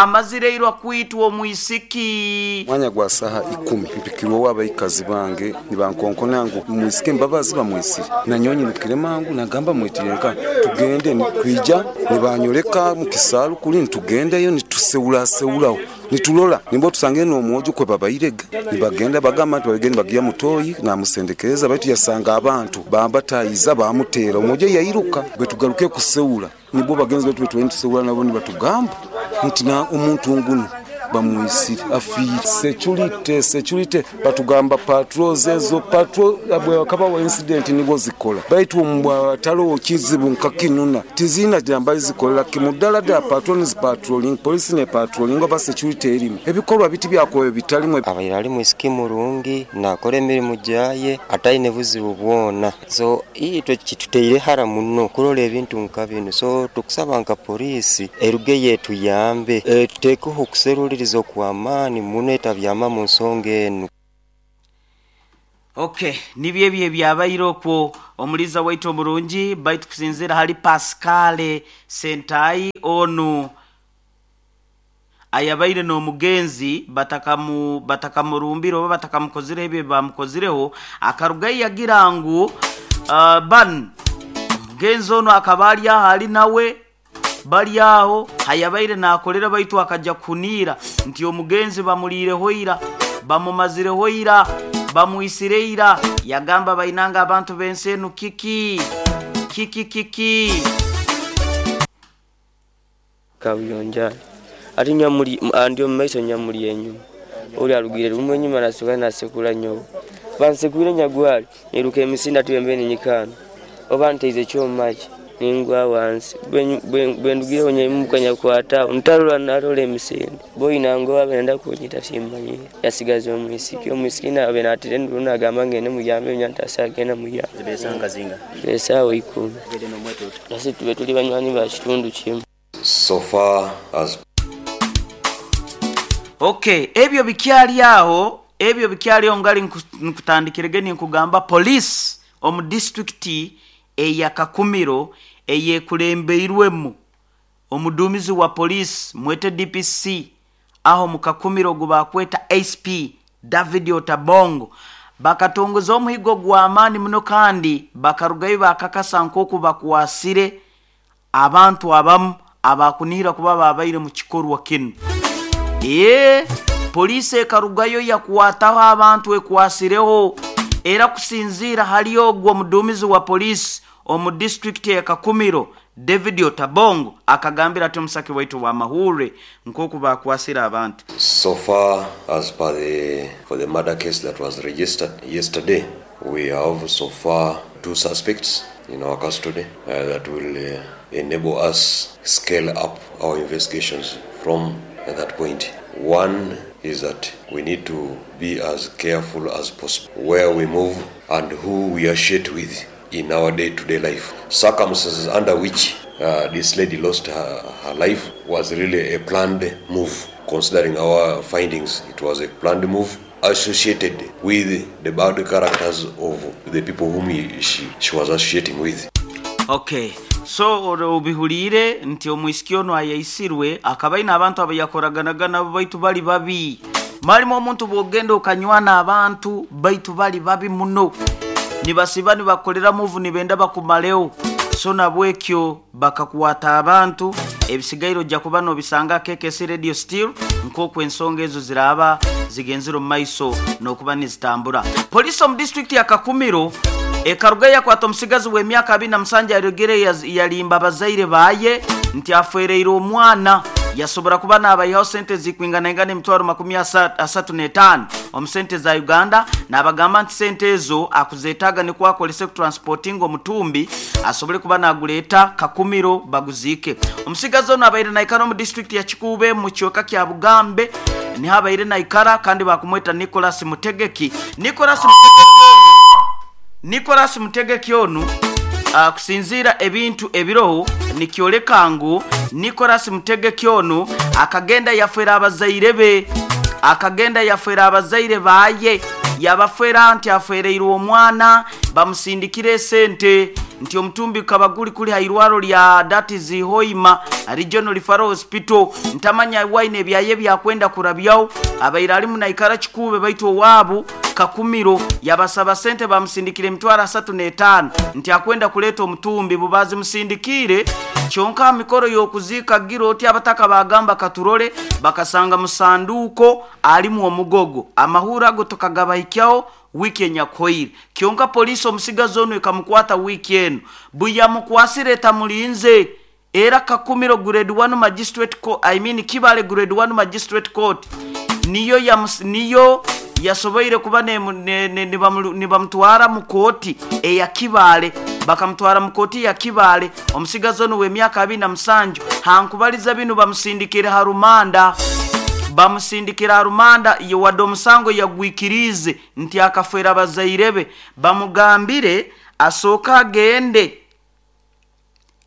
Amazireirwa kwitwa omwisiki. Mwanya gwa saha ikumi mpikirweho abaikazi bange nibankonkona ngu omwisiki Mbabazi bamwisire. Nanyowe nyirukire mangu nagamba mwitire nka tugende. Nitwija nibanyoleka mu kisaaru kuli nitugendayo nituseuraseuraho nitulola nimbo tusangire n'omwojo kwe babairege nibagenda bagamba nti babigende bagiya mutoyi namusendekereza baitu yasanga abantu bambatayiza bamuteera omwojo yairuka. Bwe tugaruke kuseura nibwo bagenzi baitu betwali nituseura nabo nibatugamba nti na omuntu ngunu bamwisire afiire. Security security batugamba patrols ezo patrol bwehakabaho incident nibwo zikola baitu omu hataloho kizibu nka kinu tizirina nambali zikolera kimu ddala ddala patrol nizipatrolling police ne patrolling oba security erimu ebikorwa biti byakobe bitalimu. Abaire ali mwisiki murungi nakora emirimu gyaye ataine buzibu bwona, so itwe kituteire hara muno kurora ebintu nka binu, so tukusaba nka poliisi erugeyo etuyambe etutekeho okuseruliriza okw'amaani muno etabyama mu nsonga enu. Ok, nibyo ebyo ebyabaire okwo omuliiza waitu omurungi, baitu kusinziira hali Pascal Sentayi onu ayabaire n'omugenzi batakamu batakamurumbire oba batakamukozireho ebyo ebi baamukozireho, akarugayo yagira ngu banu omugenzi onu akaba ali aho ali nawe bali aho hayabaire naakolera baitu akaja kuhuniira nti omugenzi bamuliireho ira, bamumazireho ira, bamwisire ira. Yagamba bainange abantu b'ensi enu kiki? Kiki kiki? Kabuyonjo ati nyamuli andi omu maiso nyamuli enyuma. Oli arugiire rumwe enyuma nasoka nasekura nyowe. Bansekwire nyagwali niiruka emisinde ati bwembaire ninyika hanu oba nteize ekyoma kye ningwa wansi. Bwendugireho nyaimuka nyakwata aho ntarora narora emisinde. Boina ngu abe nayenda kunyita timmanyire. Yasigaza omwisiki, omwisiki abe natera enduru nagamba ngende muyambe nyowe ntasobola genda muyamba. Esaawa ikumi. Ase tube tuli banywani ba kitundu kimu. So far as. Ok, ebyo bikyali agho, ebyo bikyali agho ngali nkutandikirege ninkugamba police omu disitulikiti eya Kakumiro eyekulembeirwemu omuduumizi wa police mwete DPC agho mu Kakumiro ogubakweta ACP David Otabong bakatongoza omuhigo gw'amaani muno kandi bakarugayo bakakasa nk'oku bakwasire abantu abamu abakunihira kuba babaire mu kikorwa kinu. Eeh, poliisi ekarugayo yakwataho abantu ekwasireho era kusinziira hali ogwo omuduumizi wa poliisi omu disiturikiti eya Kakumiro, David Otabong akagambira ati omusake waitu ow'amahurre nk'oku baakwasire abantu. So far as per the for the murder case that was registered yesterday, we have so far two suspects in our custody that will enable us scale up our investigations from that point. One is that we need to be as careful as possible where we move and who we associate with in our day to day life. Circumstances under which this lady lost her, her life was really a planned move. Considering our findings, it was a planned move associated with the bad characters of the people whom he, she, she was associating with. Ok, so obihuliire nti omwisiki onu ayaisirwe akaba aine abantu abayakoraganaga nabo baitu bali babi. Malimu omuntu bwogenda okanywana abantu baitu bali babi muno, nibasiba nibakukolera move nibenda bakumaleho. So nabwekyo bakakwata abantu, ebisigaire oja kuba nobisanga aha KKC Radio still nkoku ensonga ezo ziraaba zigenzire omu maiso nokuba nizitambura. Poliisi omu disiturikiti ya Kakumiro ekarugayo yakwata omusigazi w'emyaka abiri na musanju aregere yalimba abazaire baye nti afwereire omwana yasobora kuba nabaihaho sente ezikwinganaingana emitwaro makumi asatu n'etaano omu sente za Uganda nabagamba nti sente ezo akuzetaaga nikwo akorese kutransportinga omutumbi asobole kuba nagureeta Kakumiro baguziike. Omusigazi onu abaire naikara omu disiturikiti ya Kikuube mu kicweka kya Bugambe niho abaire naikara kandi bakumweta Nicholas Mutegeki. Nicholas Mutegeki onu Nicholas Mutegeki onu kusinziira ebintu ebiroho nikyoleka ngu Nicholas Mutegeki onu akagenda yafera abazaire be akagenda yafera abazaire baye yabafera nti afwereirwe omwana bamusindikire esente. Nti omutumbi gukaba guri kuri ha irwaro rya that is Hoima Regional Referral Hospital. Ntamanya waine ebyaye byakwenda kurabyaho, abaire arimu naikara Kikuube baitu owaabu Kakumiro yabasaba sente bamusindikira emitwaro 35 nti akwenda kuleeta omutumbi bubazimusindikiire. Kyonka aha mikoro y'okuziika gira oti abataka bagamba katurore, bakasanga musanduuko arimu omugogo. Amahurre ago tukagabahikyaho wiiki enyakuhoire. Kyonka poliisi omusigazi onu ekamukwata wiiki enu. Buyamukwasire etamulinze era Kakumiro Grade 1 Magistrate Court, I mean Kibale Grade 1 Magistrate Court niyo yamus, niyo yasoboire kuba nibamutwara mu kooti eya Kibale. Bakamutwara mu kooti ya Kibale. Omusigazi onu w'emyaka 27 hankubaliza binu bamusindikire ha rumanda. Bamusindikira ha rumanda wadde omusango yagwikiriize nti akafeera bazaire be. Bamugambire asooke agende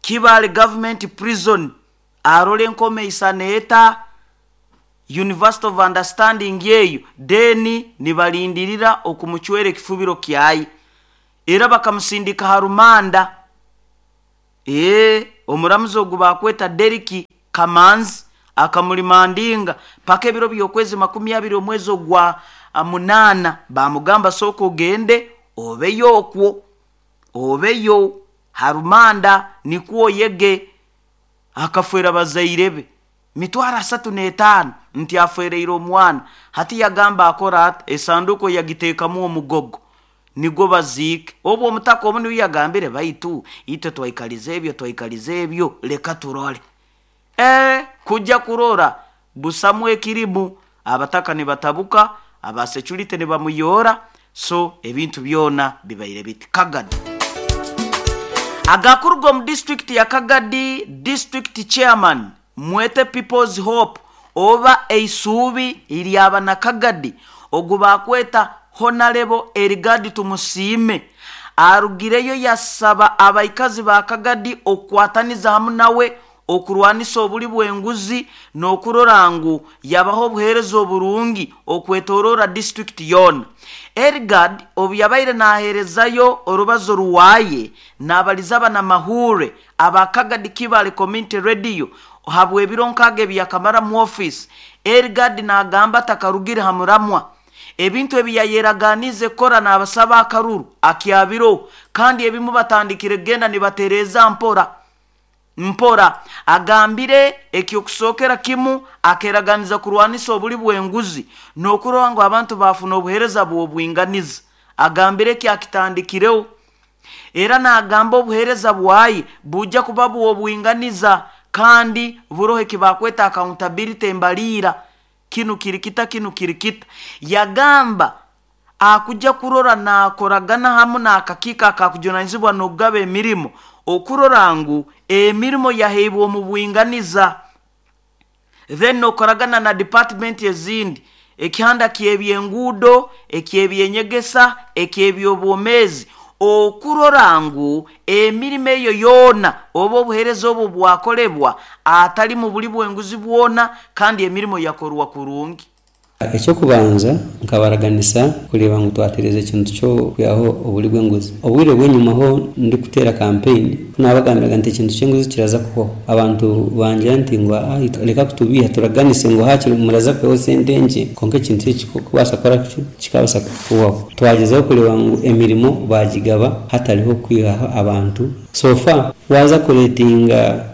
Kibale Government Prison arole enkoma eisana eta, University of Understanding eyo, then nibalindirira okumucwera ekifubiro kyaye. Era bakamusindika ha rumanda. Omuramuzi ogu bakweta Derrick Kamanzi akamurimandinga paka ebiro by'okwezi 20 omwezi ogwa 8, bamugamba sooka ogende obeyo okwo, obeyo harumanda nikwo oyege. Akafeera bazaire be mitwaro 35 nti afeereire omwana. Hati yagamba akora ati esanduuko yagiteekamu omugogo nigwo baziike. Obwo omutaka obu niwe yagambire baitu itwe twaikaliza ebyo, twaikaliza ebyo, leka turole. Kujja kurora busamu ekirimu, abataka nibatabuka, aba security nibamuyora, so ebintu byona bibaire biti. Kagadi agakuruga omu district ya Kagadi, district chairman mwete People's Hope oba eisuubi lyaba na Kagadi ogu bakweta Honorable Erigadi Tumusiime arugireyo yasaba abaikazi ba Kagadi okukwataniza hamu nawe okurwanisa obuli bw'enguzi n'okurora ngu yabaho obuheereza oburungi okwetorora district yoona. Erigad obu yabaire naheerezayo orubazo rwaye nabaliza abanamahure aba Kagadi Kibale Community Radio habw'ebiro nkaaga ebi yakamara mu office. Erigad nagamba atakarugire ha muramwa. Ebintu ebi yayeraganize kukora nabasaba akaruru akyabiro, kandi ebimu batandikire kugenda nibatereeza mpora mpora. Agambire ekyokusookera kimu akeraganiza kurwanisa obuli bw'enguzi n'okurora ngu abantu bafuna obuheereza bw'obwinganiza. Agambire eki akitandikireho. Era nagamba obuheereza bwaye bujja kuba bw'obwinganiza kandi buroho ekibakweta accountability embaliira. Kinu kiri kita, kinu kiri kita. Yagamba akujja kurora nakoragana hamu n'akakiiko akakujunanizibwa n'okugaba emirimo okurora ngu emirimo yaheibwa omu bwinganiza. Then nokoragana na department ezindi, ekihanda ky'ebyenguudo, eky'ebyenyegesa, eky'ebyobwomeezi, okurora ngu emirimo eyo yoona oba obuheereza obwo bwakolebwa atali mu buli bwenguzi bwona, kandi emirimo yakorwa kurungi. Ekyokubanza nkabaraganisa kureeba ngu twatereeza ekintu ky'okwihaho oburi bw'enguzi. Obwire bw'enyumaho ndikuteera campaign nabagambiraga nti ekintu ky'enguzi kiraza kuhwaho. Abantu bangira nti ngu reka kutubiiha turaganise ngu hakiri muraza kwihaho sente nkye, kwonka ekintu eki kikubaasa kukora ki kikabaasa kuhwaho. Twagyezaho kureeba ngu emirimo bagigaba hatariho kwihaho abantu. So far waaza kureetinga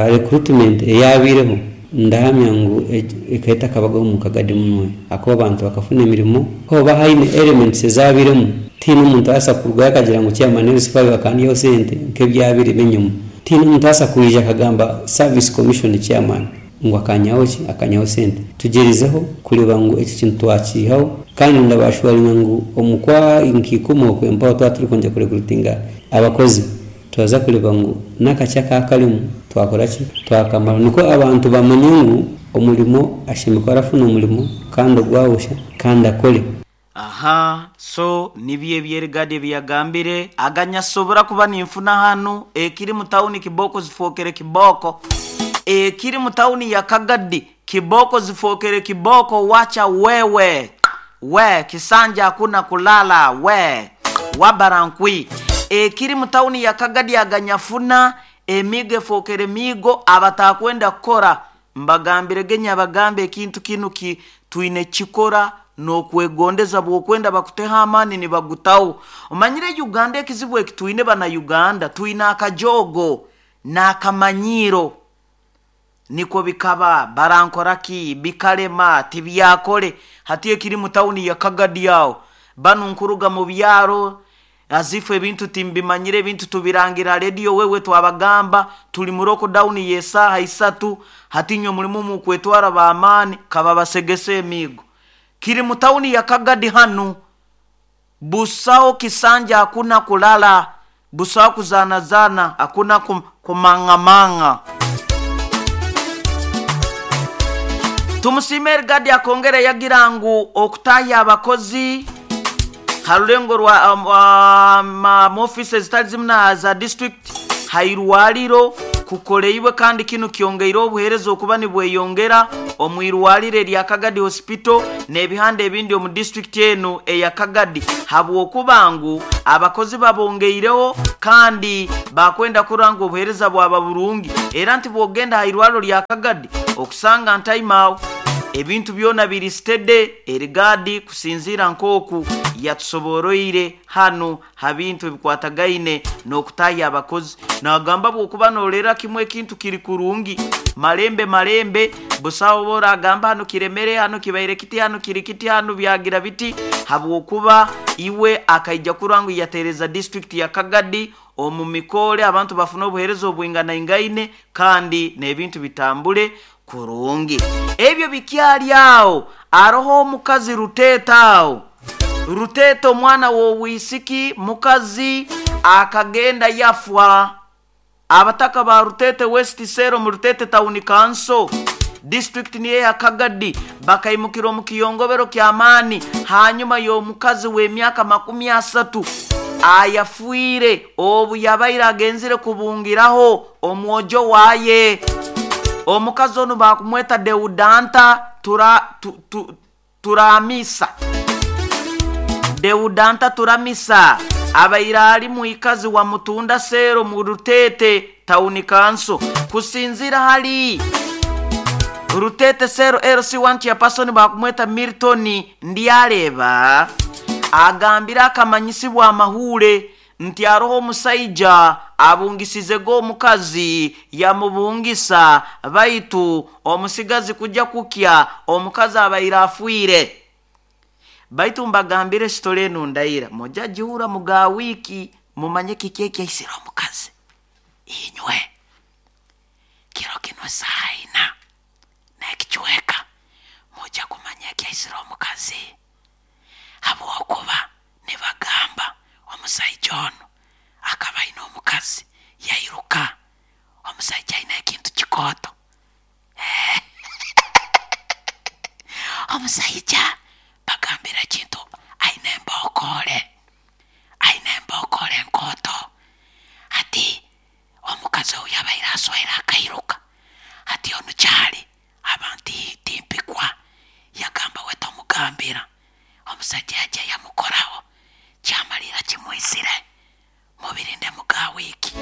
recruitment eyabaireho, ndahamya ngu ekaba etakabagaho omu Kagadi munwe, ahakuba abantu bakafuna emirimo. Hoba haine elements ezabairemu, tihaine omuntu arabaasa kurugayo akagira ngu chairman LC5 akandyaho sente nk'ebyabaire b'enyima. Tihaine omuntu arabaasa kwija akagamba service commission chairman ngu akanyihaho ki, akanyihaho sente. Tugyerizeho kureeba ngu ekyo kintu twakiihaho, kandi ndabashuwaringa ngu omu kwa nka-ikumi okwe mpaho twaba turikwongera kurecruitinga abakozi, turaza kureeba ngu n'akakye akakarimu twakora ki, twakamaraho, nikwo abantu bamanye ngu omurimo ashemereire kuba arafuna omurimo kandi ogwabusha kandi akore. Aha, so nibyo ebi Erigadi ebi yagambire, aganyasobora kuba ninfuna hanu ekiri mu tawuni kiboko zifookere kiboko. Ekiri mu tawuni ya Kagadi kiboko zifookere kiboko, wacha wewe we kisanja hakuna kulala we wabarankwi. Ekiri mu tawuni ya Kagadi aganyafuna emigo efookere miigo abatakwenda kukora mbagambirege nyabagambe ekintu kinu ki twine kikora n'okwegondeza bw'okwenda bakuteho amaani nibagutaho. Omanyire Uganda ekizibu eki twine bana Uganda twine akajogo n'akamanyiiro nikwo bikaba barankora ki bikalema tibyakole. Hati ekiri mu tawuni ya Kagadi aho banu nkuruga mu byaro azifu ebintu timbimanyire ebintu tubirangira rediyo wewe twabagamba tuli mu lockdown y'esaaha isatu. Hati inywe mulimu mukwetwara b'amaani kaba basegese emiigo. Kiri mu tawuni ya Kagadi hanu busaho kisanja hakuna kulala busaho kuzanazana hakuna kumangamanga. Tumusiime Erigadi akongera yagira ngu okutahya abakozi harulengo rwa mu office zitali zimu na za district hairwaliro kukoleibwe kandi kinu kyongeire obuheereza okuba nibweyongera omu irwaliro erya Kagadi Hospital n'ebihanda ebindi omu district enu eya Kagadi habwokuba ngu abakozi babongeireho kandi bakwenda kurora ngu obuheereza bwaba burungi. Era nti bwogenda ha irwaliro lya Kagadi okusanga ntaimaawo ebintu byona biri steady. Erigadi kusinziira nk'oku yatusoboroire hanu ha bintu ebikwatagaine n'okutahya abakozi. Nagamba bw'okuba noolera kimwe ekintu kiri kurungi malembe malembe busaho boragamba hano kiremere hano kibaire kiti hano kiri kiti hano byagira biti habwokuba iwe akaija kurora ngu yatereza district ya Kagadi omu mikole abantu bafuna obuheereza obwinganaingaine kandi n'ebintu bitambule kurungi. Ebyo bikyali aho aroho omukazi Ruteta aho Ruteta omwana w'obwisiki mukazi akagenda yafwa. Abataka ba Rutete West Sero mu Rutete Town Council district niye ya Kagadi bakaimukira omu kiyongobero ky'amaani hanyuma y'omukazi w'emyaka 30 ayafiire obu yabaire agenzire kubungiraho omwojo waye. Omukazi onu bakumweta Deudanta Turamisa. Deudanta Turamisa abaire ali mwikazi wa Mutunda Sero mu Rutete Town Council. Kusinzira hali Rutete Sero LC1 chairperson bakumweta Milton Ndyareba agambira akamanyisibwa amahure nti aroho omusaija abungisizego omukazi yamubungisa baitu omusigazi kujja kukya omukazi abaire afiire. Baitu mbagambire sitore enu ndaira moja jihura muga wiki mumanye kiki ekyaisire omukazi inywe kiro kino saina nekichweka moja kumanya ekyaisire omukazi habwokuba nibagamba omusaija ono akaba aine omukazi yairuka omusaija aine ekintu kikooto. Omusaija bagambira ekintu aine embokole enkooto. Hati omukazi oyu yabaire aswaire akairuka hati onu kyali abantu timpikwa yagamba we tomugambira. Omusajja yajja yamukoraho kyamalira kimwisire mubirinde muga wiki.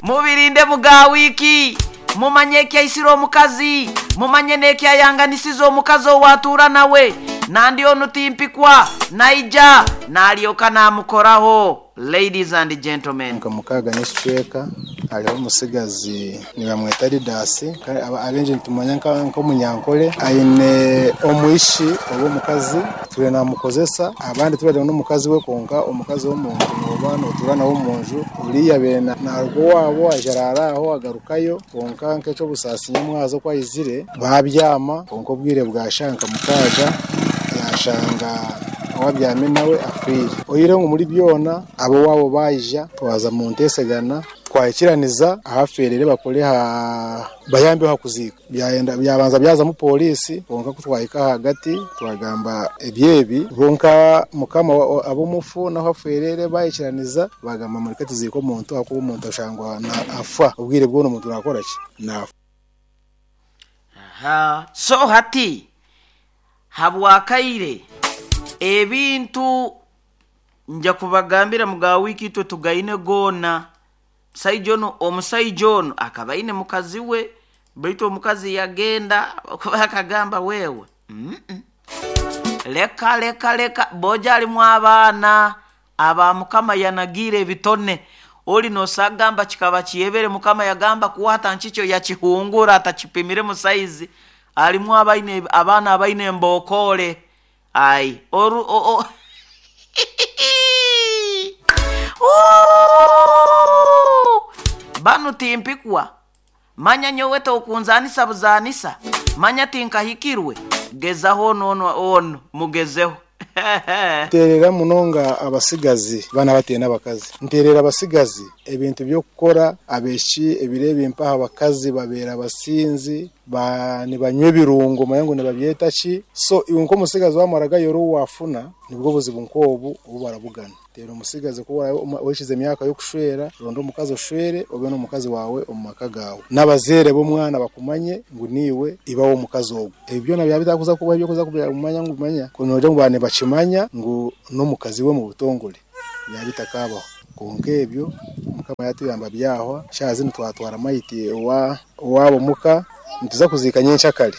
Mubirinde muga wiki mumanye ekyaisire omukazi mumanye n'ekyayanganisiza omukazi owatuura nawe nandi onu timpikwa naija nalyoka namukoraho. Ladies and gentlemen, nka mukaga n'ekicweka hariho omusigazi nibamweta Didasi abengi nitumanya nk'omunyankole aine omwishi oba omukazi turi namukozesa abandi turi n'omukazi we konka omukazi w'omuntu noba notura nawe omunju uriya bene narugo wabo ajarara aho agarukayo konka nk'ekyobusaasi nyamwazo kwayizire babyama konka obwire bwashanka mukaga yashanga wabyame nawe afiire. Oire ngu muri byona abo wabo baija twaza mu ntesegana twayikiraniza ahaferere bakore ha bayambe hakuzika byayenda byabanza byaza mu polisi konka kutwayika hagati twagamba ebyebi bonka mukama abo mufu naho aferere bayikiraniza bagamba muri katiziko omuntu akuba omuntu ashangwa na afa obwire bwono omuntu nakora ki na aha. So hati habwakaire Ebintu nja kubagambira muga wiiki itwe tugaine goona. Musaija onu, omusaija onu akaba aine mukazi we, baitu omukazi yagenda kuba akagamba wewe Leka leka leka boja alimu abaana aba Mukama yanagiire ebitone. Oli nosagamba kikaba kiyebere, Mukama yagamba kuwata nkikyo yakihungura atakipimiremu saizi. Alimu abaine abaana abaine embokoole. Ai oru o o Banu timpikwa. Manya nyowe tokunzaanisa buzaanisa, manya tinkahikirwe, gezaho onu onu onu mugezeho. Nteerera munonga abasigazi baana bataine abakazi. Nteerera abasigazi ebintu by'okukora abaishiki ebiro ebi mpaho abakazi babeera abasinzi ba nibanywa ebirungo omanye ngu nibabyeta ki. So iwe nk'omusigazi waamara ori ou waafuna nibwo buzibu nk'obu obu barabugana. Teera omusigazi ku oraabe ohikize emyaka y'okushwera, ronda omukazi oshwere obe n'omukazi waawe omu maka gaawe. N'abazaire b'omwana bakumanye ngu niiwe iba w'omukazi ogwo. Ebi byona byaba bitakuza kubaho eby'okuza kumanya ngu manya noogira ngu baaba nibakimanya ngu n'omukazi we omu butongore byaba bitakaabaho. Kwonka ebyo Mukama yaatuyamba byahwa, shaaha zinu twatwara maiti owa owaabo muka nituza kuziika nyenkyakare.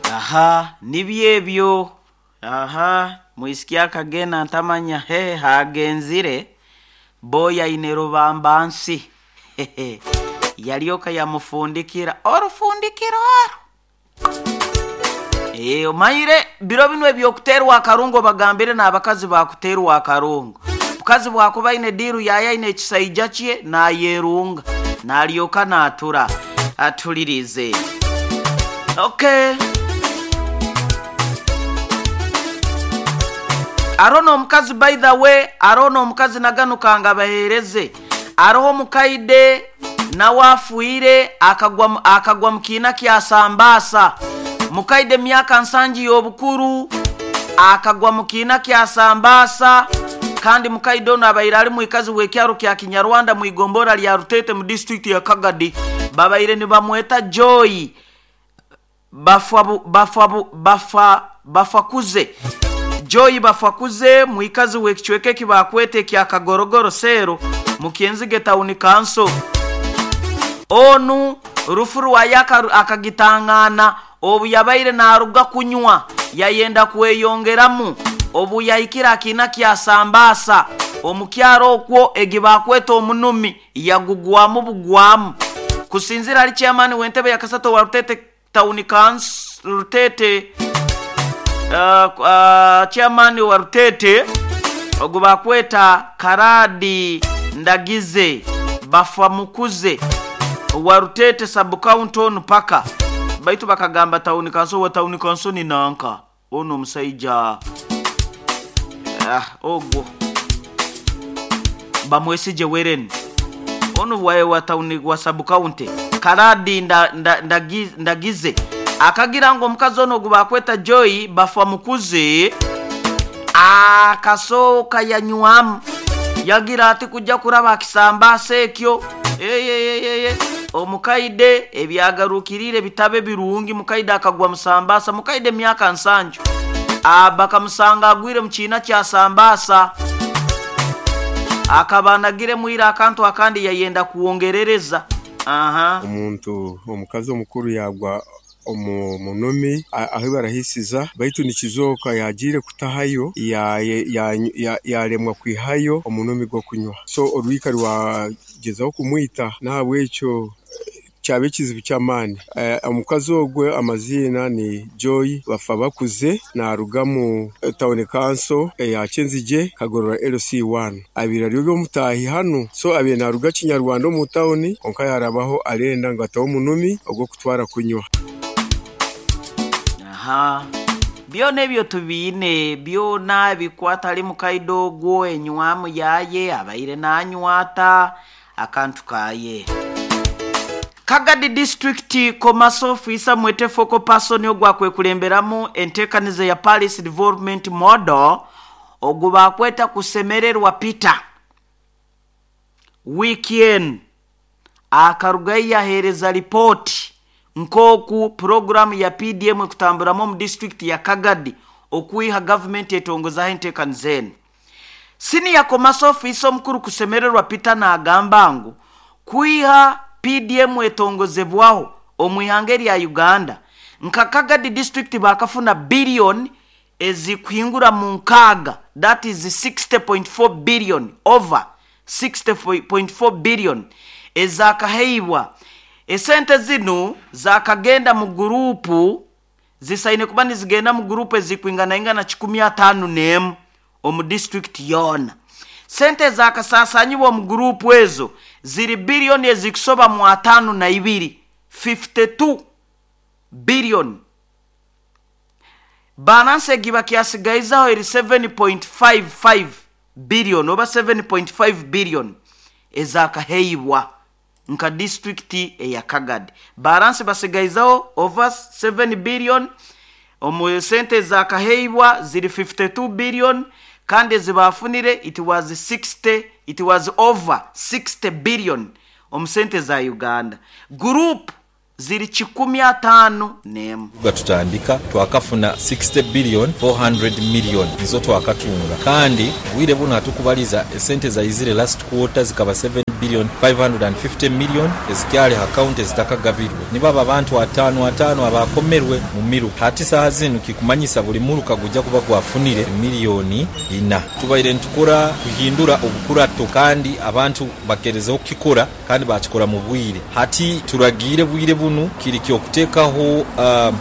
Aha nibyo ebyo. Aha mwisiki akagenda ntamanya he hagenzire boy aine rubambansi yalyoka yamufundikira orufundikiro oru. Ee, omanyire biro binu eby'okuteerwa akarungo bagambire n'abakazi bakuteerwa akarungo. Mukazi bwakuba aine diiru yaye aine ekisaija kye nayerunga nalyoka natura atulirize. Okay. Aroho n'omukazi by the way, aroho n'omukazi naganuka ngabaheereze. Aroho omukaide nawe afwire akagwa akagwa mu kiina kya sambaasa. Mukaide myaka nsangi y'obukuru akagwa mu kiina kya sambaasa kandi mukaide onu abaire ali mwikazi w'ekyaro kya Kinyarwanda mu igombora lya Rutete mu disitulikiti ya Kagadi. Babaire nibamweta Joy Bafwa bafwa bafa Bafakuze. Joy Bafakuze mwikazi w'ekicweka eki baakweta ekya Kagorogoro Seero mu Kyenzige Tawuni Kanso. Onu rufu rwaye akagitangaana obu yabaire naaruga kunywa yayenda kweyongeramu obu yahikire aha kiina kya Sambaasa omu kyaro okwo egi baakweta omunumi yagugwamu bugwamu. Kusinziira ahari Chairman w'entebe ya kasatu owa Rutete Tawuni Kanso Rutete Chairman wa Rutete ogu baakweta Karadi Ndagize Bafamukuze owa Rutete Sub-County onu paka baitu bakagamba Tawuni Kanso owa Tawuni Kanso ni nanka onu omusaija ogwo Bamwesigye Weren onu wa Tawuni wa Sub-County Karadi Ndagize akagira ngu omukazi onu ogu baakweta Joy Bafamukuze akasooka yanywamu yagira ati kujja kuraba aha kisambaasa ekyo eyeyeyeye omukaide ebyagarukiriire bitabe birungi mukaide akagwa mu sambaasa mukaide emyaka nsanju bakamusanga agwire mu kiina kya sambaasa akaba anagiremu ira akantu akandi yayenda kwongerereza. Aha. Omuntu omukazi omukuru yaagwa omu munumi ahu barahisiza baitu nikizooka yaagiire kutahayo yaaremwa kwihayo omunumi gw'okunywa so orwika rwagyezaho kumwita n'ahabw'ekyo kyaba ekizibu ky'amaani. Omukazi ogwe amaziina ni Joy Bafabakuze naaruga omu tawuni kanso eya Kyenzigye Kagorora LC1. Abaire ari omutaahi hanu so abaire naaruga Kinyarwanda omu tawuni kwonka yaarabaho arenda ngu atahe omunumi ogw'okutwara kunywa. Aha. Byona ebyo tubiine, byona ebikwata ahari mukaide ogwo, enywamu yaaye, abaire naanywa ata, akantu kaaye. Kagadi District Commercial Officer mwete Focal Person ogwakwekulemberamu enteekaniza ya Parish Development Model ogu baakweta Kusemererwa Peter wiiki enu akarugayo yaheereza lipooti nk'oku puroguraamu ya PDM ekutamburamu omu disiturikiti ya Kagadi. okwiha gavumenti etongozaho enteekaniza enu. Senior Commerce Officer omukuru Kusemererwa Peter nagamba ngu kwiha PDM etongozebwaho omu ihanga erya Uganda, nka Kagadi district bakafuna billion ezikuhingura mu nkaaga that is 60.4 billion over 60.4 billion ezakaheibwa. Esente zinu zakagenda mu guruupu zisaine kuba nizigenda mu guruupu ezikwinganaingana 501 omu disiturikiti yoona. Sente ezakasasanyibwa omu guruupu ezo ziri biliyoni ezikusoba mu 52, 52 billion. Balansi egi bakyasigaizaho eri 7.55 billion oba 7.5 billion ezakaheibwa nka disiturikiti eya Kagadi. Balansi basigaizaho over 7 billion, omu sente ezakaheibwa ziri 52 billion kandi ezibafunire it was 60, it was over 60 billion omu sente za Uganda. Guruupu ziri 501. Nga tutandika twakafuna 60 billion 400 million nizo twakatunga kandi obwire bunu hatukubaliza esente zaizire last quarter zikaba 7 billion 550 million ezikyali ha county ezitakagabirwe. Nibo abo abantu ataano ataano abakomerwe mu miruka. Hati saaha zinu kikumanyisa buli muruka gujja kuba gwafunire million ina. Tubaire nitukora kuhindura obukurato kandi abantu bakerezeho kukikora kandi bakikora mu bwire. Hati turagiire bwire bunu kiri ky'okuteekaho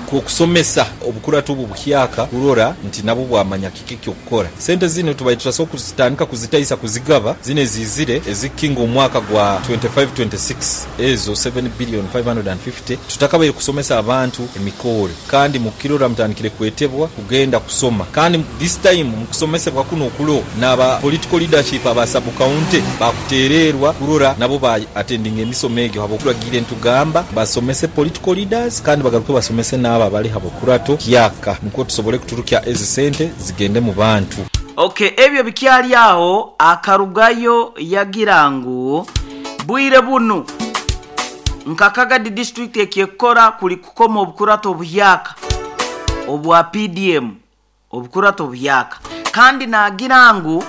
kw'okusomesa obukurato obu buhyaka kurora nti nabwo bwamanya kiki eky'okukora. Sente zinu tubaire tutasobola kuzitandika kuzitaisa kuzigaba zinu eziizire ezikukinga omwaka gwa 25-26 ezo 7 billion 550 tutakabaire kusomesa abantu emikoore kandi mukukirora mutandikire kwetebwa kugenda kusoma kandi this time mukusomesebwa kunu okuroho n'aba political leadership aba sub county bakuteererwa kurora nabo ba attendinga emisomo egyo habw'okuturagiire nitugamba basomese political leaders kandi bagaruke basomese n'abo abali habukurato kyaka nukwo tusobole kuturukya ezi sente zigende mu bantu. Ok ebyo bikyali aho akarugayo yagira ngu bwire bunu nka Kagadi district ekyekukora kuli kukoma obukurato obuhyaka obwa PDM obukurato obuhyaka kandi nagira ngu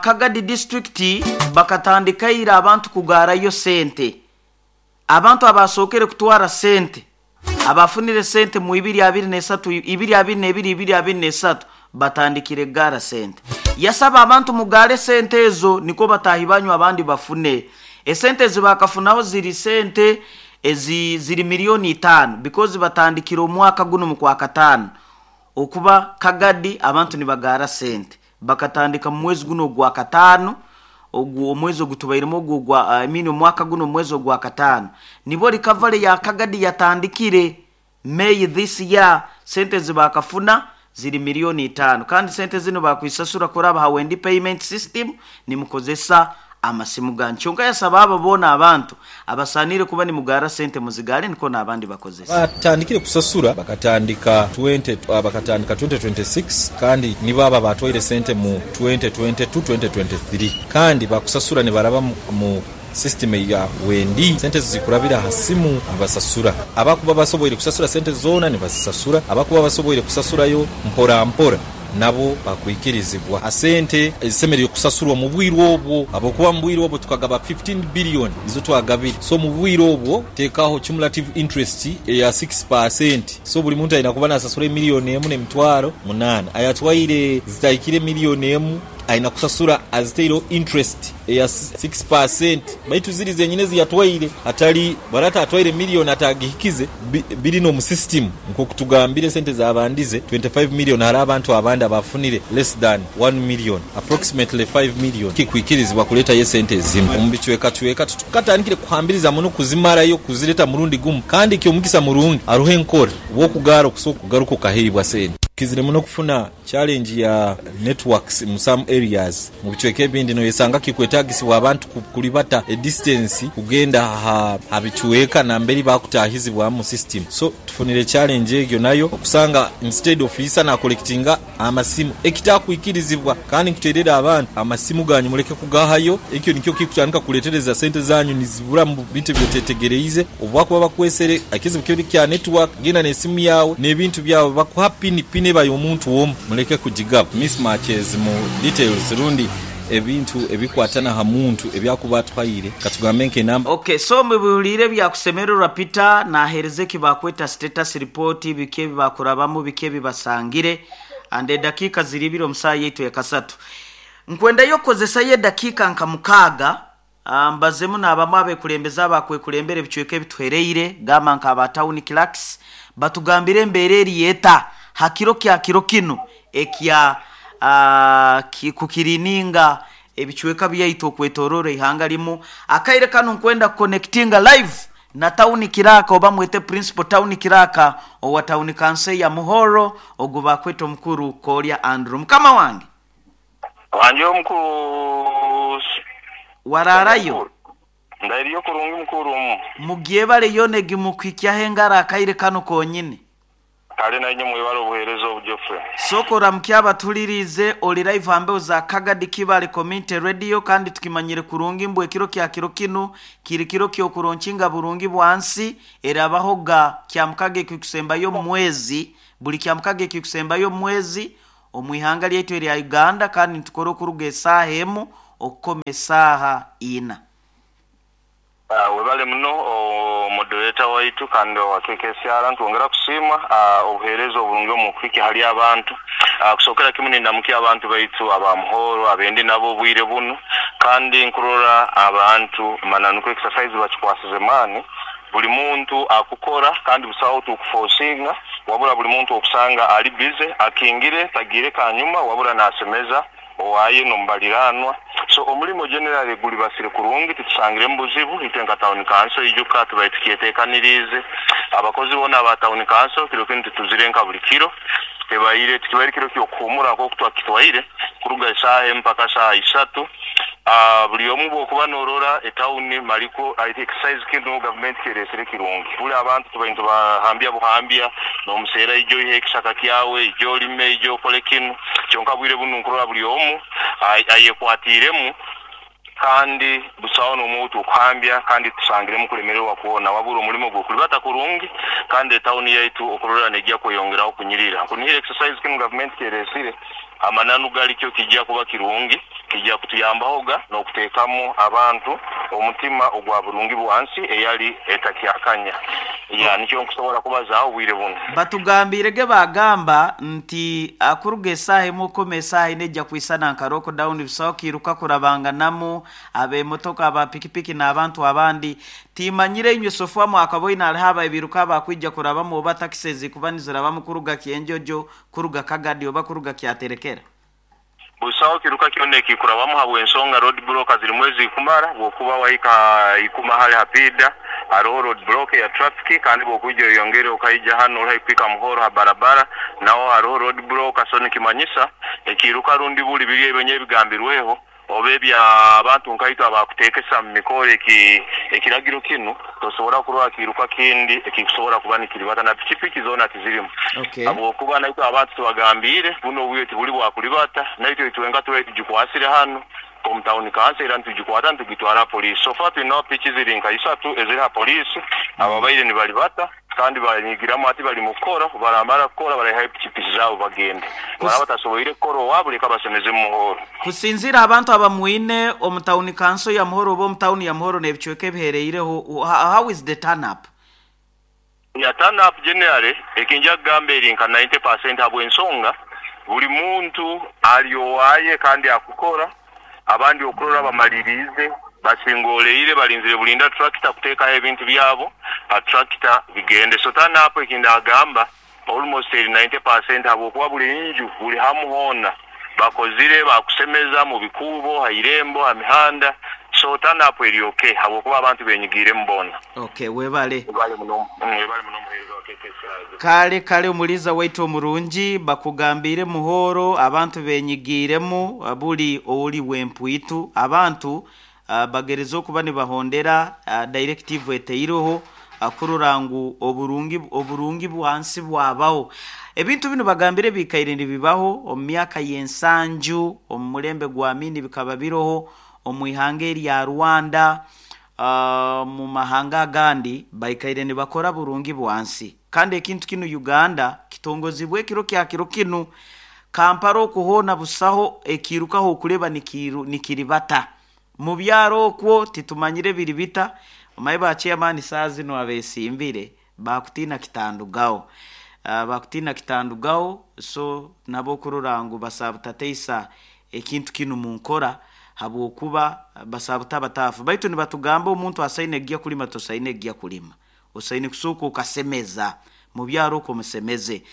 Kagadi district bakatandika ira abantu kugaarayo sente. Abantu abasookere kutwara sente abafunire sente mu ibiri abiri n'esatu, ibiri abiri n'ebiri, ibiri abiri n'esatu batandikire kugaara sente. Yasaba abantu mugaare sente ezo nikwo bataahi banyu abandi bafune. Esente ezibakafunaho ziri sente ezi ziri miliyoni itaano because batandikire omwaka gunu mu Kwakataano okuba Kagadi abantu nibagaara sente. Bakatandika mu mwezi guno ogwakataano ogu omwezi ogutubairemu ogu ogwa I mean omwaka guno omwezi ogwakataano nibwo recovery ya Kagadi yatandikire May this year sente ezibakafuna ziri miliyoni itaano kandi sente zinu bakwisasura kuraba ha Wendi payment system nimukozesa amasimu ganyu. Kyonka yasaba abo boona abantu abasaaniire kuba nimugaara sente muzigaare nikwo n'abandi bakozese. Batandikire kusasura bakatandika bakatandika 2026 kandi nibo abo abaatwaire sente mu 2022, 2023 kandi bakusasura nibaraba mu system eya Wendi. Sente ezo zikurabira aha simu nibasasura. Abakuba basoboire kusasura sente zoona nibazisasura, abakuba basoboire kusasurayo mpora mpora nabo bakwikirizibwa. Sente ezisemeriire kusasurwa mu bwire obwo habwokuba mu bwire obwo tukagaba 15 billion nizo twagabire. So mu bwire obwo tekaho cumulative interest eya 6% so buli muntu aina kuba nasasura emillioni emu n'emitwaro munaana. Ayatwaire zitahikire millioni emu aina kusasura azitaireho interest eya 6% baitu ziri zenyine eziyatwaire hatali bwaraaba atwaire millioni atagihikize biri n'omu system nk'okutugambire esente zabandize 25 million hariho abantu abandi abafunire less than 1 million approximately 5 million kikwikirizibwa kuletayo esente ezimu omu bicwekacweka titukatandikire kuhambiriza muno kuzimarayo kuzireta murundi gumu kandi ky'omugisa murungi haroho enkora obw'okugaara okusobola kugaruka okaheibwa sente. Kizire muno okufuna challenge ya networks mu some areas. Mu bicweka ebindi noyesanga kikwetagisibwa abantu kulibata e distance kugenda ha bicweka namberi bakutahizibwamu mu system. So tufunire challenge egyo nayo okusanga instead ofiisa na collectinga amasimu ekitakwikirizibwa. Kandi nkuterera abantu amasimu ganyu muleke kugahayo. Ekyo nikyo kikutandika kuletereza sente zanyu nizibura mu bintu ebyotetegereize. Obu bakuba bakwesere ekizibu kiri kya network, genda n'esimu yawe n'ebintu byawe bakuha pini, pini eba y'omuntu omu, muleke kugigaba. Mismatches mu details rundi ebintu ebikwatana ha muntu ebyakuba atuhaire, katugambe nk'enamba. Okay, so mubihuliire byakusemererwa Peter nahereza eki bakweta status report, biki ebi bakurabamu, biki ebi basangire, and edakiika ziri ibiri omu saaha yaitu ekasatu. Nkwendayo okukozesayo edakiika nka 6, mbazemu n'abamu abekulembeze abakwekulembera ebicweka ebituhereire, gamba nka aba town clerks, batugambire embeera eri eta ha kiro kya kiro kinu ekya kukirininga ebicweka byaitu okwetorora ihanga limu. Akaire kanu nkwenda kuconnectinga live na town clerk, oba mwete principal town clerk owa town council ya Muhoro, ogu bakweta omukuru Kolya Andrew. Mukama wange. Wanje omukuru. Wararayo? Ndairiyo kurungi mukuru omu. Mugyebale yona egimukwikyaho engaro akaire kanu konyine. Kale nainye mwebale obuheereza obu Geoffrey. Sokora mukyaba tulirize oli live hambeho za Kagadi Kibale Community Radio, kandi tukimanyire kurungi mbu ekiro kya kiro kinu kiri kiro kyokuronkinga burungi bwansi erabaho ga kyamukaga ekikusembayo mwezi, buli kyamukaga ekikusembayo mwezi omwihanga lyaitu erya Uganda, kandi nitukora okuruga esaaha emu okukoma esaaha ina. Webale muno moderator waitu kandi owa KKCR, ntwongera kusiima obuheereza oburungi omu kuhika hali abantu. Kusookera kimu nindamukia abantu baitu aba Muhoro abendi nabo obwire bunu, kandi nkurora abantu mananu exercise bakikwasize maani. Buli muntu akukora kandi busaho tukuforcinga, wabula buli muntu okusanga ali busy akingire tagire kanyuma, wabula nasemeza owaye nomubaliranwa. So omulimo generally guli basire kurungi, titusangire mu buzibu. Itwe nka town council ijuka tubaye tukyetekanirize abakozi bona aba town council kiro kinu tituzire nka buli kiro tebaire tukibaire kiro kyokuhumura nk'oku twakitwaire kuruga esaaha mpaka saaha 3. Buli omu bwokuba norora etawuni maliko exercise kinu gavumenti keresere kirungi. Buli abantu tubaire tubahambya buhambya n'omuseera ijo ihe ekisaka kyawe ijo olime ijo okole kinu, kyonka bwire bunu nkurora buli omu ayekwatiremu kandi busaho n'omuntu okuhambya, kandi tusangiremu kulemererwa kwona, wabura omulimo gwokulibata kurungi kandi etawuni yaitu okurora nejja kweyongeraho kunyirira. Nkunihira exercise kinu gavumenti keresire amananu galikyo kijja kuba kirungi, kijja kutuyambahoga n'okuteekamu abantu omutima ogwa burungi bwansi eyali etakyakanya. Ya nikyo nkusobola kubazaaho obwire buno. Batugambirege bagamba nti akuruga esaaha emu okoma esaaha ina ejja kwisana nka lockdown, busaho kiruka kurabanganamu abemotoka aba pikipiki n'abantu abandi. Timanyire inywe sofa mwakaboine hariho ababiruka abakwija kurabamu oba takisi ezikuba nizirabamu kuruga Kyenjojo, kuruga Kagadi oba kuruga Kyaterekera. Busaho kiruka kyona ekikurabamu habw'ensonga road block zirimu ezikumara, bwokuba wahika ikuma hali hapida hariho road block ya traffic, kandi bwokwija oyongere okaija hano ori kuhika Muhoro ha barabara naho hariho road block. So nikimanyisa ekiruka rundi buli biri ebyo ebigambirweho oba ebya abantu nkaitwe abakuteekesa mu mikoro ekiragiro kinu tosobola kurora kiruka kindi ekikusobola kuba nikiribata na pikipiki zoona tizirimu. Habwokuba naitwe abantu tubagambire buno obwire tibuli bwakulibata, naitwe itwenka tubaire tugikwasire hano omu town council era nitugikwata nitugitwara poliisi. So far tulinaho piki ziri nka 3 eziri ha poliisi, ababaire nibalibata kandi banyigiramu ati bali mu kukora, baramara kukora baraihayo pikipiki zaabo bagende. Baraba batasoboire kukora owabo leka basemeze mu Muhoro. Kusinzira abantu abamwine omu town council ya Muhoro oba omu town ya Muhoro n'ebicweka ebihereireho, how is the turn up? Ya turn up generally ekinja kugamba eri nka 90% habw'ensonga buli muntu ali owaye kandi akukora, abandi okurora bamalirize basingoleire balinzire bulinda tractor kuteekaho ebintu byabo a tractor bigende. So turn up ekinda agamba almost eri 90% habwokuba buli nju buli hamu hoona Bakozire bakusemeza mu bikuubo, ha irembo, ha mihanda. So turn up eri okay habwokuba abantu benyigiiremu boona. Okay, webale. Webale muno, webale muno omuheereza wa KKCR. Kale kale omuliiza waitu omurungi, bakugambiire muhooro abantu benyigiiremu buli ori w'empwitu. Abantu bagereza okuba nibahondera directive eteireho kurora ngu oburungi oburungi bwansi bwabaho. Ebintu binu bagambire bikaire nibibaho omu myaka y'ensanju, omu mulembe gwa Amini bikaba biroho, omu ihanga erya Rwanda, omu mahanga agandi baikaire nibakora burungi bwansi. Kandi ekintu kinu Uganda kitongozibwe ekiro kya kiro kinu. Kampala okwo hoona busaho ekiirukaho okureba nikiribata. Mu byaro okwo titumanyire biri bita, omanye ba chairman saaha zinu abesimbire bakutiina kitandugaho. Bakutiina kitandugaho so nabo okurora ngu basaabutateisa ekintu kinu mu nkora habwokuba basabuta bataafu. Baitu nibatugamba omuntu asaine kugya kulima tosaine kugya kulima. Osaine kusooka okasemeza mu byaro okwo musemeze.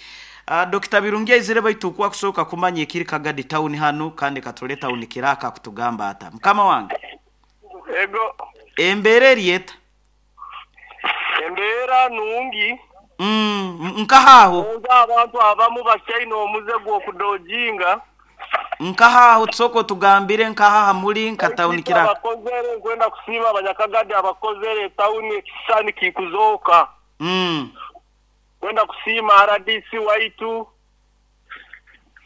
Dokita Birungi aizire baitu okwo akusooka kumanya ekiri Kagadi town hanu kandi katule town kiraka akutugamba ata. Mukama wange. Ego. Embeera eri eta? Embeera nungi. Nkaha aho? Kwonka abantu abamu bakyaine omuze gw'okudojinga. Nkaha aho? Tusooke otugambire nkaha aha muri nka Baitu town itwe kiraka. abakozere, nkwenda kusiima Abanyakagadi abakozere etawuni ekisisani kikuzooka. Nkwenda kusiima RDC waitu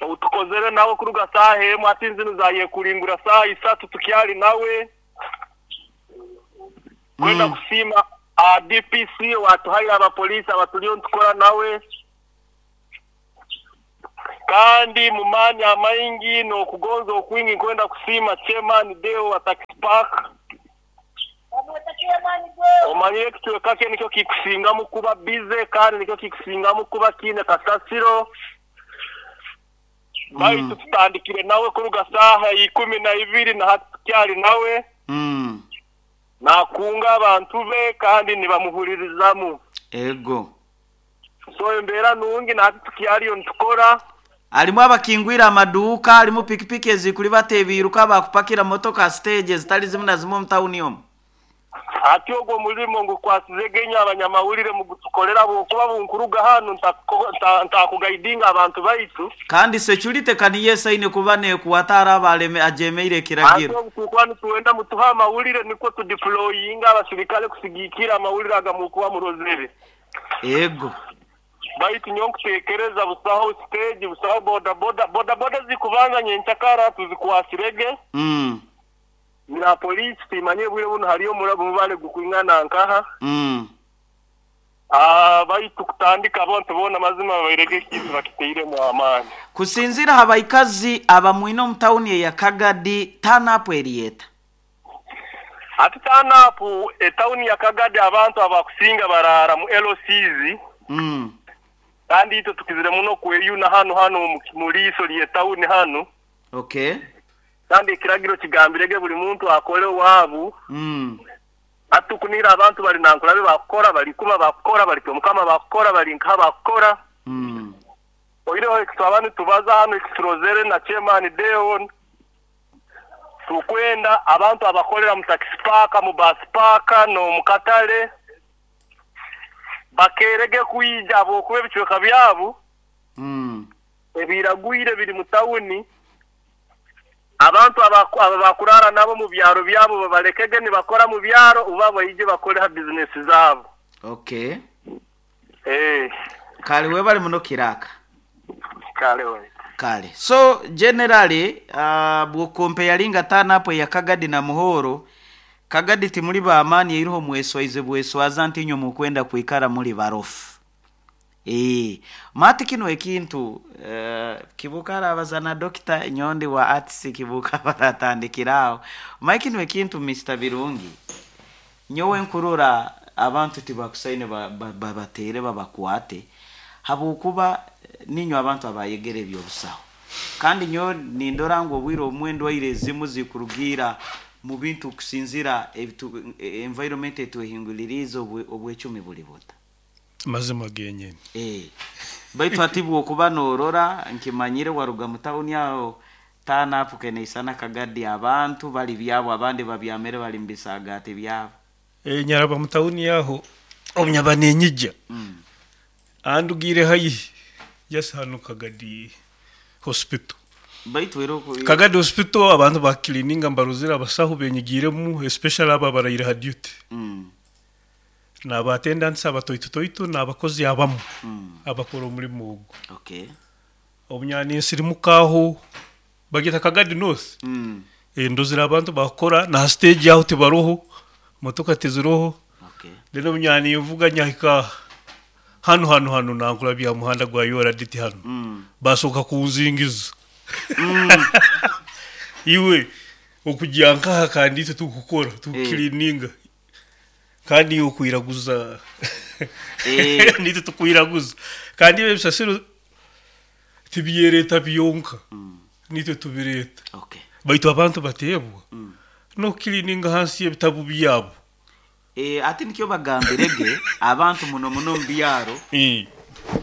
ou tukozere nawe kuruga saaha emu hati zinu zayekulingura saaha isatu tukyali nawe. Nkwenda kusiima DPC owatuhaire abapoliisi abatuliyo nitukora nawe. Kandi mu maani amaingi n'okugonza okwingi nkwenda kusiima Chairman Deo wa Taxi Park. Omanyire ekicweka kye nikyo kikusingamu kuba busy kandi nikyo kikusingamu kuba kiine kasasiro. Baitu tutandikire nawe kuruga saaha 12 na hati tukyali nawe. Nakunga abantu be kandi nibamuhuririzamu. Ego. So embeera nungi na hati tukyaliyo nitukora. Harimu abakingwire amaduuka, harimu pikipiki ezikuribata ebiiruka, abakupakira motoka aha siteegi ezitari zimwe na zimwe omu tawuni omu. Hati ogwo omurimo ngukwasizege inywe abanyamawulire mugutukorere ahabw'okuba bunkuruga hanu ntakugaidinga abantu baitu. Kandi security ka niyo esaine kuba nekwata araaba ajemeire Hati ekiragiro. obu turikuba nitwenda mutuhe amawulire nikwo tudiployinge abasirikare kusigiikirra amawulire aga murikuba murozere. Ego. Baitu nyowe nkuteekereza busaho siteegi, busaho bodaboda. Bodaboda ezikubanza nyenkyakara tuzikwasirege. Na poliisi timanyire obwire bunu hariyo omubare gukwingana nkaha. Baitu kutandika abantu boona mazima babairege ekintu bakitairemu amaani. Kusinziira aha baikazi abamwine omu tawuni eya Kagadi, turn up eri eta? Hati turn up etawuni ya Kagadi abantu abakusinga baraara mu LCs. Kandi itwe tukizire muno kweyuna hanu hanu mu liiso ly'etawuni hanu. Okay. Kandi ekiragiro kigambirege buli muntu akole owaabu. Hati tukunihira abantu bari Nankulabe bakukora, bari Ikuma bakukora, bari Kyomukama bakukora, bari nkaha bakukora. Oihireho eki twaba nitubaza hanu eki turozere na Chairman Deo, tukwenda abantu abakorera mu taxi park, mu bus park n'omu katale bakeerege kwija ahabw'okuba ebicweka byabo ebiragwire biri mu tawuni. Abantu aba bakuraara nabo omu byaro byabo babalekege nibakora mu byaro oba baije bakore ha bizinesi zaabo. Okay. Kale webale muno Kiraka. Kale waitu. Kale. So generally bw'okompeyaringa turn up eya Kagadi na Muhoro, Kagadi timuri b'amaani eiroho mweswaize bweswaza nti inywe mukwenda kwikara muri barofu. Mati kinu ekintu Kibuuka arabaza na Dokita nyowe ndi wa arts Kibuuka baratandikira aho. Omanye kinu ekintu Mister Birungi, nyowe nkurora abantu tibakusaine babateere babakwate habwokuba niinywe abantu abayegere eby'obusaho. Kandi nyowe nindora ngu obwire obumwe endwaire ezimu zikurugiira mu bintu kusinziira environment etwehinguliriize obwecumi buri buta. Mazima genyini. Baitu hati bwokuba norora nkimanyire waruga mu tawuni aho Tana apu keneisana Kagadi, abantu bali byabo, abandi babyamere bali mubisagati byabo. Nyaraba mu tawuni yaho omunyaba nenyijja andugire haihi just hano Kagadi Hospital. Baitu era Kagadi Hospital abantu bakilininga mbaruzire abasahu benyigiremu, especially abo abaraire ha duty n'aba attendants abatoitotoito n'abakozi abamu abakora omulimu ogu. Obunyani nsirimukaho bagita Kagadi North. Ndozire abantu bakora na stage aho tibaroho, motoka tiziroho. Then obunyani nvuga nyahika hano hano hano nankura bya muhanda gwa yoraditi hano basoka kunzingiza iwe okujya nkaha, kandi itwe tukukora tukukilininga kandi iwe okwiraguza nitwe tukwiraguza, kandi ebyo ebisasiro tibyereta byonka, nitwe tubireta. Baitu abantu bateebwa n'okukilininga hansi y'ebitabu byabo. Ati nikyo bagambirege abantu muno muno mu byaro.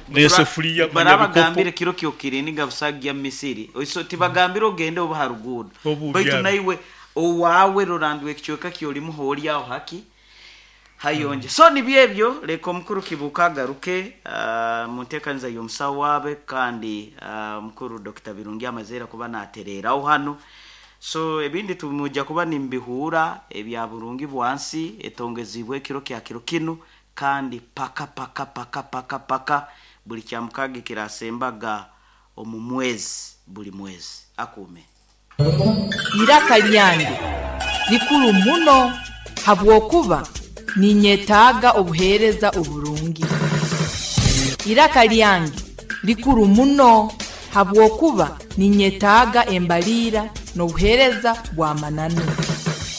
N'esefuriya. Barabagambire kiro kyokirininga busagya misiri, so tibagambire ogende oba ha ruguudo. Obu baitu byaro. Naiwe owaawe rorandwa ekicweka kyolimu hooli aho haki hayonje. So nibyo ebyo, leka omukuru Kibuuka agaruke mu nteekaniza y'omusawo waabe, kandi omukuru Dr. Birungi amazeera kuba natereeraho hano. So ebindi tumujja kuba nimbihuura ebya burungi bwansi etongezibwe ekiro kya kiro kinu, kandi paka paka paka paka paka buli kya mukaaga ekirasembaga omu mwezi, buli mwezi akuume. Iraka lyange likuru muno habwokuba ninyetaaga obuheereza oburungi. Iraka lyange likuru muno habwokuba ninyetaaga embaliira n'obuheereza bw'amananu.